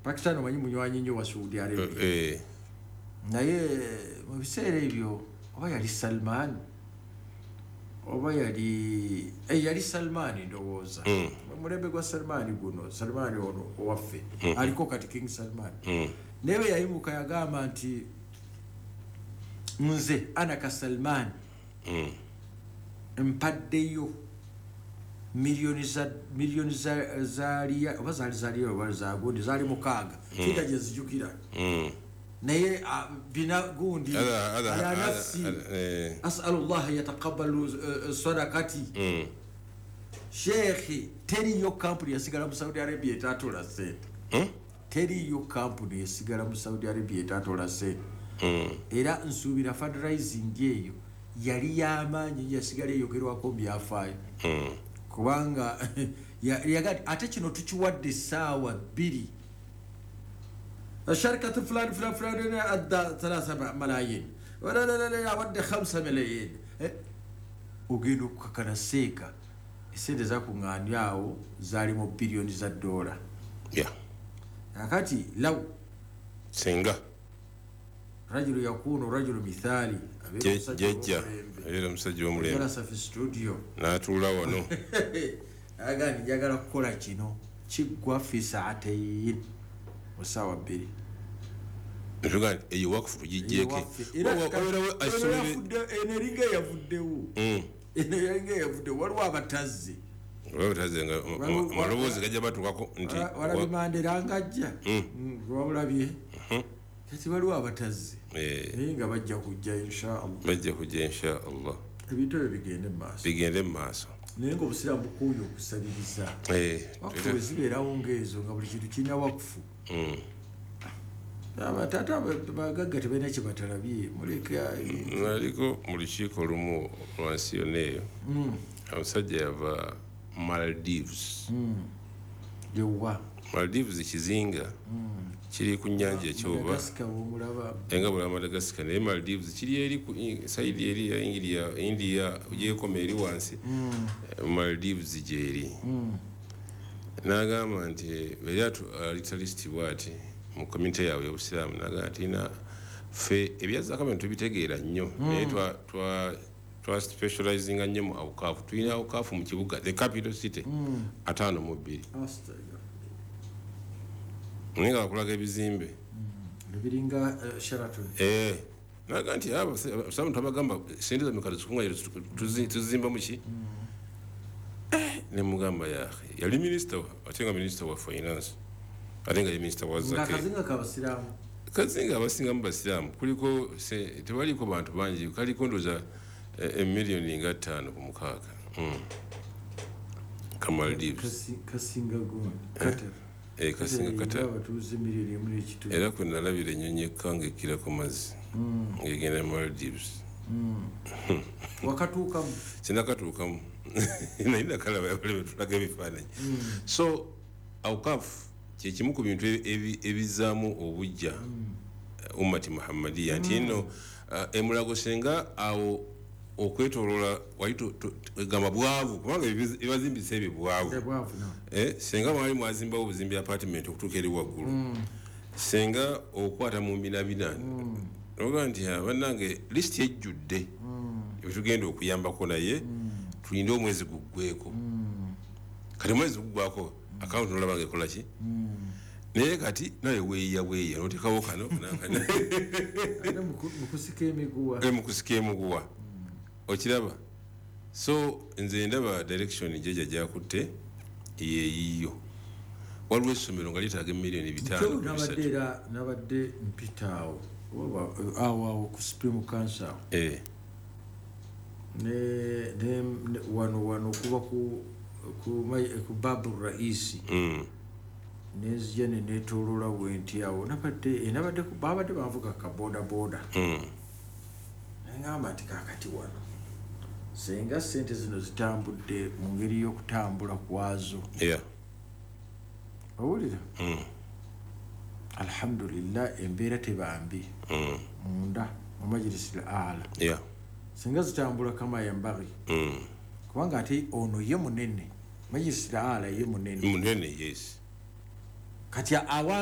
Pakistan omanyi munywanyi nnyo wa Saudi Arabia. Naye mu biseera ebyo oba yali Salman oba yali Salman, ndowooza mulembe gwa Salman guno, Salman ono owaffe aliko kati, King Salman. Naye bwe yayimuka yagamba nti, "Nze anaka Salman mpaddeyo miliyoni za oba zaali zaliya oba zagundi, zaali 6, kinta gyenzijukira, naye bina gundi ala nafsi, asalu llah yataqabalu sadakati." Sheekhi, teriyo kampuni yasigala mu Saudi Arabia etatola sente. Teriyo kampuni esigala mu Saudi Arabia etatola sente. Era nsuubira fundraising eyo yali yamaanyi, yasigala eyogerwako mu byafaayo, kubanga ate kino tukiwadde essaawa 2, sharikatu fulani fulani fulani adda 3 malayin, awadde 5 malayin. Ogenda okukakana seeka esente zakuŋŋaanya awo zaali mu biliyoni za dola. Kakati law Senga rajulu yakunu rajulu mithali. Jejja abeera omusajja w'omulembe. Jalasa fi studio. N'atuula wano. Agani njagala kukola kino, kiggwa fi saatain, mu ssaawa 2. Ntuga nti eyo wakufu tugijjeeke. Wabeerawo. Eno eringa eyavuddewo. Eno eringa eyavuddewo, waliwo abatazze. Olwabataze nga amaloboozi gajja batuukako nti Walabye Mandela ngajja, wabulabye. Kati waliwo abatazze, naye nga bajja kujja, inshallah. Bajja kujja, insha Allah. Ebintu ebyo bigende mu maaso. Bigende mu maaso. Naye nga obusiraamu bukuuye okusabiriza. Wakufu bwe zibeerawo ngaezo, nga buli kintu kirina wakufu. Abataata bagagga tebalina kye batalabye, muleka. Naliko mu lukiiko lumu lwansi yonna eyo. Omusajja yava Maldives. Yewa? Maldives kizinga kiri ku nyanja ekyoba. Madagascar womulaba. Enga bula Madagascar, naye Maldives kiri eri ku side eri ya India. India gyekoma eri wansi. Maldives gyeri. N'agamba nti eri aleeta list bwati mu community yaabwe y'obusiraamu, n'agamba nti na ffe ebyazaka bino tubitegeera nnyo, naye twa specializinga nnyo mu awukaafu. Tulina awukaafu mu kibuga, the capital city, 52. Astagfirullah. Naye nga bakulaga ebizimbe. Ebiringa Sheraton. Eh, naga nti abasiraamu twabagamba sente zammwe kati zikuŋŋaanyire, tuzimba muki? Ne mugamba yahe yali minisita ate nga minisita wa finance, ate nga ye minisita wa Nga zake. Akazinga kabasiraamu. Kazinga abasingamu basiraamu. Kuliko tebaliko bantu bangi, kaliko ndoza emiliyoni nga 5 ku 6. Ka Maldives. Kasinga gundi Qatar. Eh, kasinga Qatar. Abatuuze miliyoni 1.5. Era kwe nalabira ennyonyi ekkanga ekkira ku mazzi ng'egenda Maldives. Wakatuukamu? Sinakatuukamu, naye nakalaba betulaga ebifaananyi. So awkafu kyekimu ku bintu ebizzaamu obujja ummati Muhammadiya, nti nno emulago senga awo okwetolola wali gamba bwavu, kubanga ebibazimbisa ebyo bwavu. Bwavu no. Eh, senga mwali mwazimbawo obuzimbi apartment okutuuka eri waggulu, senga okwata mu mbinabina oga nti, "Ah, bannange, lisiti ejjudde ebitugenda okuyambako, naye tulinde omwezi guggweko." Kati omwezi guggwako, akawunti nolaba nga ekola ki? Naye kati naye weeya bweya notekawo kano nakano. Ate mu kusika emiguwa. Mu kusika emuguwa, okiraba. So nze ndaba direction jeja gyakutte yeeyiyo. Waliwo essomero nga lyetaaga emiliyoni 5 Kyo ku nabadde 3. Era nabadde mpita awo awo ku Supreme Council awo. Ne wano kuba ku Babu Raisi. Nenzija ne neetooloola bwenti awo, nabadde babadde banvuga ka boda boda. Neŋŋamba nti kaakati wano senga sente zino zitambudde mu ngeri y'okutambula kwazo. Owulira? Alhamdulillah, embeera tebambi munda mu Majlisi al Ala. Singa zitambula kama yambagi, kubanga ate ono ye munene, Majlisi al Ala ye munene. Munene, yes. Kati awantu